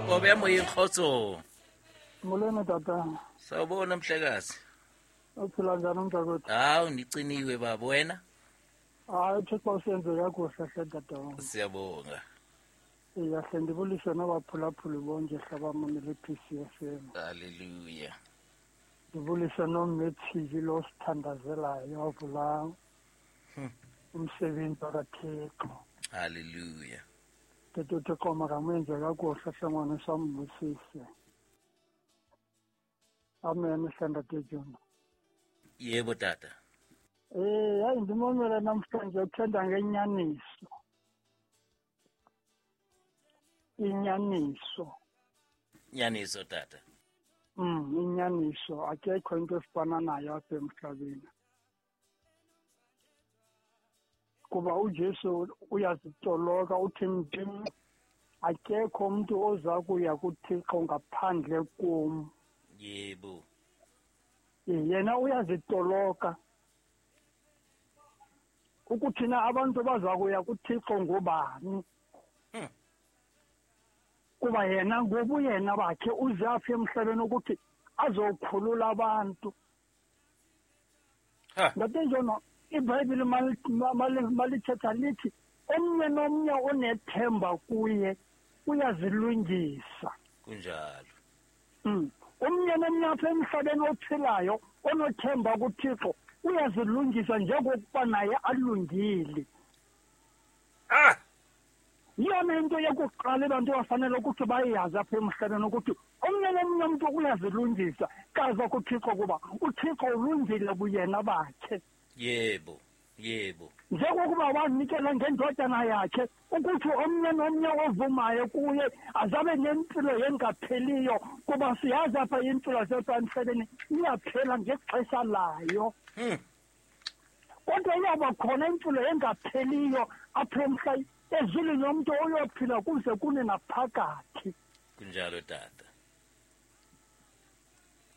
Kobe moyeng kgotso. Molweni tata. Sawubona mhlekazi. Uphila njani mntakwethu? Hawu ndiciniwe baba wena. Hayi uThixo usenze kakuhle hle tata wam. Siyabonga. Iya hle ndibulise nabaphulaphuli bonke hlabamamele i-PCFM. Hallelujah. Ndibulise nomethili lo sithandazelayo wavula umsebenzi wakaThixo. Hallelujah. Tete uThixo makamenze kakuhle hle ngwana sambusise. Amen hle ntate Jona. Yebo tata. Hayi ndimamele namhlanje uthetha ngenyaniso. Inyaniso. Nyaniso tata. Inyaniso akekho into efana nayo apha emhlabeni. Kuba uJesu uyazitoloka uthi ndim akekho umuntu oza kuya kuThixo ngaphandle kum. Yebo. Yena uyazitoloka. Ukuthina abantu baza kuya kuThixo ngobani? Kuba yena ngobuyena bakhe uze apha emhlabeni ukuthi azokhulula abantu. Ntate Jono, iBhayibhile malithetha lithi omnye nomnye onethemba kuye uyazilungisa. Kunjalo. Omnye nomnye apha emhlabeni ophilayo onothemba kuThixo uyazilungisa njengokuba naye alungile. Yiyona into yokuqala abantu abafanele ukuthi bayazi apha emhlabeni ukuthi omnye nomnye umuntu uyazilungisa kaza kuThixo kuba uThixo ulungile kuyena bakhe. Yebo, yebo. Njengokuba wanikela ngendodana yakhe ukuthi omnye nomnye ovumayo kuye azabe nempilo engapheliyo kuba siyazi apha impilo yasemhlabeni iyaphela ngexesha layo. Kodwa iyaba khona impilo engapheliyo apha emhlabeni ezulwini umuntu oyophila kuze kune naphakathi. Kunjalo tata.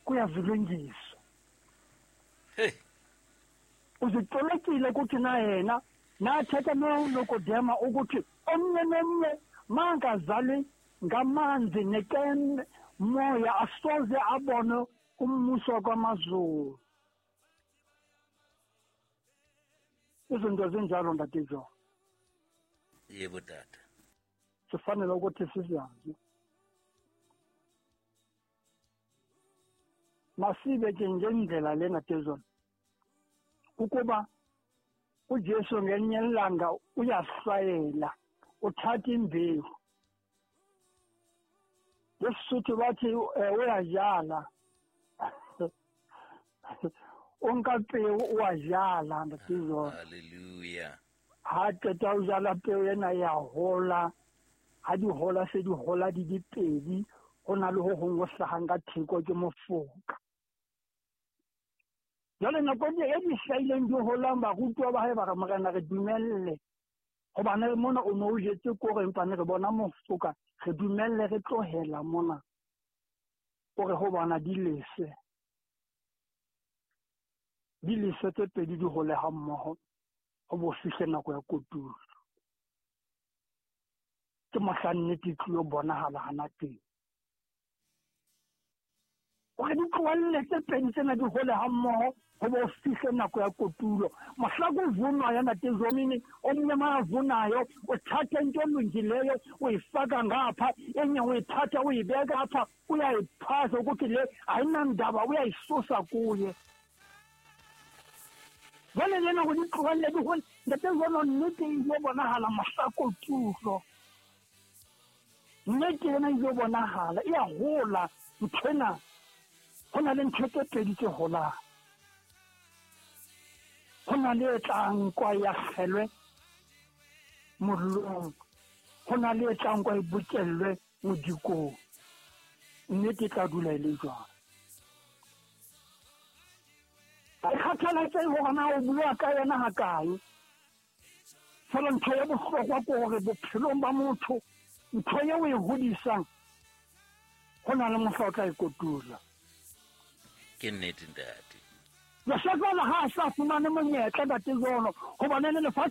Kuyazilungisa. Hey. Uzitolokile ukuthi na yena nathetha noNikodema ukuthi omnye nomnye mangazali ngamanzi neken moya asoze abone umbuso kwamazulu. Izinto zinjalo ntate Jono. Yebo tata. Sifanele ukuthi sizazi. Masibe ke ngendlela lena Jono. Ukuba uJesu ngelinye ilanga uyahlwayela, uthatha imbewu. NgesiSuthu bathi uyadlala. O nka peo o a jala ntate Jono. Hallelujah. Ha qeta o jala peo ena ya hola, ha di hola se di hola di dipedi, ho na le ho hong ho hlahang ka theko ke mofoka. Jwale nako e di hlahileng di holang barutwa ba hae ba re Morena re dumelle. Hobane mona o no o jetse koro empa ne re bona mofoka, re dumelle re tlohela mona. O re ho bona di lese. Di lese tse pedi di hole ha mmoho. Ho bo fihle nako ya kotulo. Ke mohla nnete e tlilo bonahala hana teng. Hore di tlohelle tse pedi tsena di hole ha mmoho ho bo fihle nako ya kotulo. Mohla kuvunwa ya ntate Zomini, omnye mavunayo uthatha into elungileyo uyifaka ngapha, enye uyithatha uyibeka apha, uyayiphasa ukuthi le ayinandaba uyayisusa kuye. Jwale lena go di tlohelle di hole, ntate Jono nnete e ile bonahala mohla kotulo. Nnete ena e ile bonahala, e a hola nthwena. Ho na le ntho tse pedi tse holang. Ho na le e tlang kwa ya kgelwe mollong, ho na le e tlang kwa e bokellwe modikong. Nnete e tla dula e le jwalo. Ha e kgathalatsehe hore na o bua ka yona hakae. Fela ntho ya bohlokwa ke hore bophelong ba motho ntho eo o e hodisang ho na le mohla o tla e kotula. Ke nnete ntate. Josefa ha a sa fumane monyetla ntate Jono, hobane le lefatshe